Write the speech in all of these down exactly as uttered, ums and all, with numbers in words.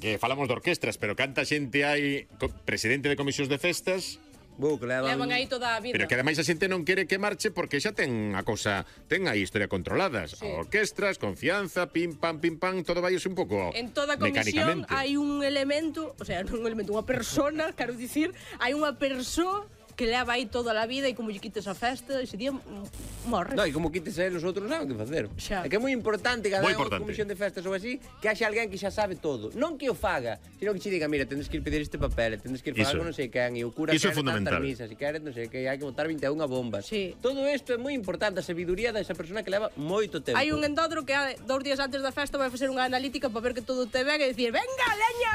que falamos de orquestras, pero canta xente hai presidente de comisións de festas. Bu, que levan... Levan aí toda a vida. Pero que ademais a xente non quere que marche porque xa ten a cousa, ten a historia controladas. Sí. Orquestras, confianza, pim pam pim pam, todo vai un pouco En toda comisión mecánicamente. hai un elemento, o sea, non un elemento, unha persona, quero dicir, hai unha persoa que leva aí toda a vida e como lle quites a festa, ese día mm, morre. No, e como quites a eles, os outros non que facer. Xa. É que é moi importante cada Moi unha importante. comisión de festas ou así que haxa alguén que xa sabe todo. Non que o faga, sino que che diga, mira, tendes que ir pedir este papel, tendes que ir falar Iso. con non sei quen, e o cura Iso é quere fundamental. tantas misas, e quere non sei que, hai que botar vinte e unha bombas. Sí. Todo isto é moi importante, a sabiduría desa persona que leva moito tempo. Hai un endódro que hai dous días antes da festa vai facer unha analítica para ver que todo te ben e dicir, venga, leña!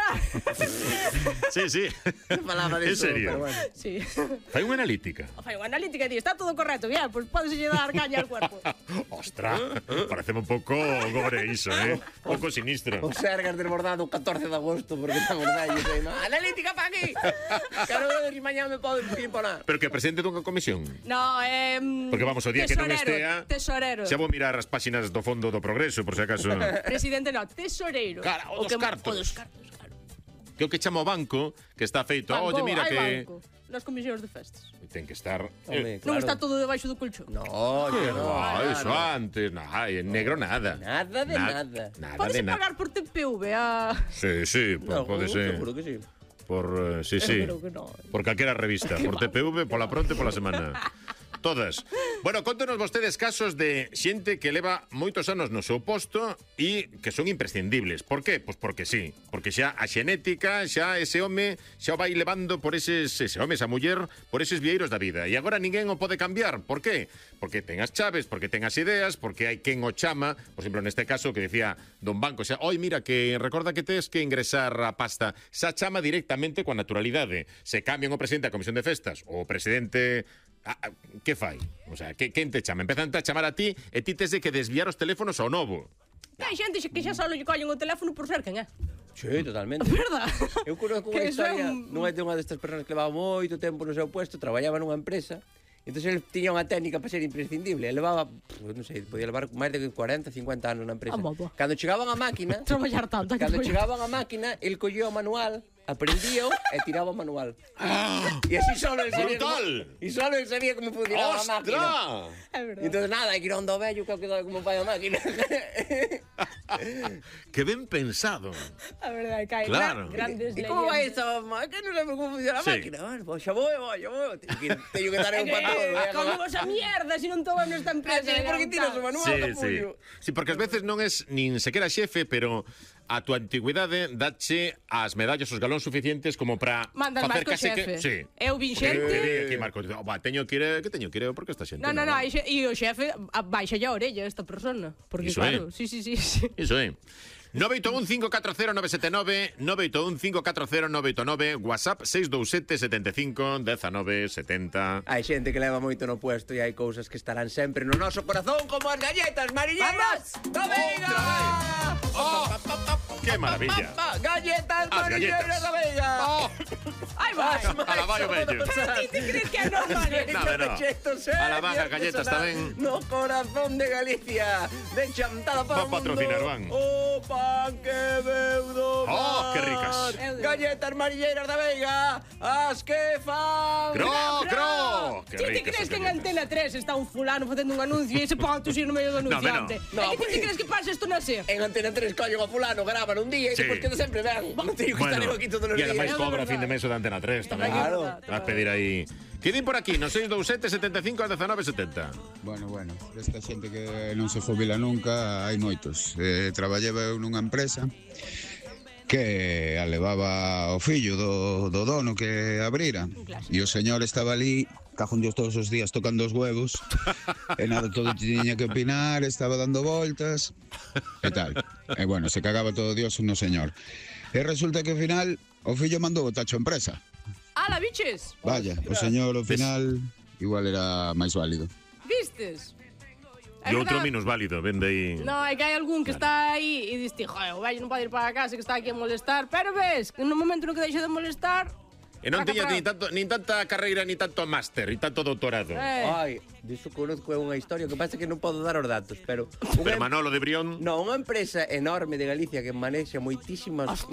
Sí, sí. Falaba En disso, serio. pero bueno. Sí. Fai unha analítica. Fai unha analítica e di, está todo correcto, bien, pues podes lle dar caña al cuerpo. Ostras, pareceme un pouco gore iso, eh? Un pouco sinistro. O Sergas desbordado o catorce de agosto porque estamos vellos aí, no? Analítica pa aquí. Quero ver se mañá me podo imponar. Pero que presidente dunha comisión. No, eh, Porque vamos, o día que non estea, tesorero. xa vou mirar as páxinas do fondo do Progreso, por se acaso. Presidente no, tesoreiro. Cara, o dos que- cartos. O dos cartos, claro. Que o que chamo banco, que está feito, Banco, oye, mira hai que banco nas comisións de festas. ten que estar Home, eh, Non claro. está todo debaixo do colchón. No, que que no. guai, no, eso no. antes, nah, en negro nada. Nada de nada. Nada Podes de nada. pagar por T P V a... Sí, sí, po- No, pode ser. seguro que sí. Por, eh, sí, sí. Creo que no. Por calquera revista, por T P V, pola pronto e pola semana. Todas. Bueno, contanos vostedes casos de xente que leva moitos anos no seu posto e que son imprescindibles. Por qué? Pois porque sí. Porque xa a xenética, xa ese home, xa o vai levando por eses, ese home, esa muller, por eses vieiros da vida. E agora ninguén o pode cambiar. Por qué? Porque ten as chaves, porque ten as ideas, porque hai quen o chama. Por exemplo, neste caso que decía Don Banco, xa, oi, mira, que recorda que tes que ingresar a pasta. Xa chama directamente coa naturalidade. Se cambian o presidente da Comisión de Festas, o presidente... Ah, que fai? O sea, que, quen te chama? Empezan a chamar a ti e ti tes de que desviar os teléfonos ao novo. Hai xente que xa só lle collen o teléfono por ser quen é. Sí, totalmente. Verdad? Eu conozco Que unha eso é historia un- nunha de unha destas persoas que levaba moito tempo no seu puesto, traballaba nunha empresa. Entón ele tiña unha técnica para ser imprescindible. Ele levaba, pff, non sei, podía levar máis de cuarenta, cincuenta anos na empresa. Ah, bobo. Cando chegaban a máquina, Traballar tanto, hai que cando traballar. chegaban a máquina, el collía o manual, aprendía e tiraba o manual. E así solo el sabía como, Brutal. e solo el sabía como funcionaba a máquina. ¡Ostras! É verdad. E entón nada, hai que ir a onda vello que é o que dá como fai a máquina. Que ben pensado. A verdade, que hai Claro. gra- grandes E como vai leyendas. esta máquina? Que non lembro como funciona a Sí. máquina. Bueno, pues xa vou, vou, xa vou. Teño que, teño que dar un patón. Eh, como esa mierda, si non toman nesta empresa. Sí, porque tiras o manual, Sí, sí. capullo. Sí, porque ás veces non es nin sequera xefe, pero a tua antigüidade dache as medallas, os galóns suficientes como para Mandas máis facer co case xefe. que... Sí. Eu vin Que xente... di aquí Marcos, oh, va, teño que ir, que teño que ir, porque esta xente No, no, no, e xe- e o xefe a- baixa a orella esta persona. Porque Iso claro, é. sí, sí, sí, sí. Iso é. nove oito un cinco catro cero nove sete nove, nove oito un cinco catro cero nove oito nove, WhatsApp seis dous sete sete cinco un nove sete cero. Hai xente que leva moito no puesto e hai cousas que estarán sempre no noso corazón como as galletas mariñeiras da Veiga. Oh, ¡qué maravilla! Pa, pa, galletas As mariñeiras galletas. da Veiga. Oh, Ai, vai. a la vai o vello. Ti ti crees que é normal? No, no. A la baja, galletas tamén. No corazón de Galicia. De chantada para Va a patrocinar, van. O pan que veu do mar. Oh, que ricas. Galletas mariñeiras da Veiga. As que fan. ¡Cro, cro! ¡Qué Ti ti ricas crees esas que en galletas! Antena tres está un fulano facendo un anuncio e ese pon a tusir no medio do No, anunciante? no. É que ti No, ti crees que pasa isto na SER? En Antena tres collen a fulano, graban un día e Sí. depois queda sempre ben. Non teño que estar eu aquí todos os e días. ademais É cobra a verdade. fin de mes o de Antena tres tamén. Claro. Vas pedir aí. Quedín por aquí, no seis dous sete sete cinco un nove sete cero. Bueno, bueno, esta xente que non se jubila nunca, hai moitos. Eh, traballaba eu nunha empresa que a levaba o fillo do, do dono que abrira. E o señor estaba ali, cajón dios todos os días tocando os huevos, e nada, todo tiña que opinar, estaba dando voltas, e tal. E bueno, se cagaba todo dios no señor. E resulta que ao final o fillo mandou o tacho a empresa. Ala, biches? Vaya, o señor ao final igual era máis válido. Vistes? É E outro verdade- menos válido, vende aí. No, é que hai algún que está aí e diste, joder, o vello non pode ir para a casa que está aquí a molestar, pero ves, que no momento no que deixa de molestar, E non Traca, tiña traca. ni tanto nin tanta carreira ni tanto máster, e tanto doutorado. eh, Ai, diso conozco unha historia que pasa que non podo dar os datos, pero unha Pero Manolo de Brión, No, unha empresa enorme de Galicia que manexa moitísimas Ostras.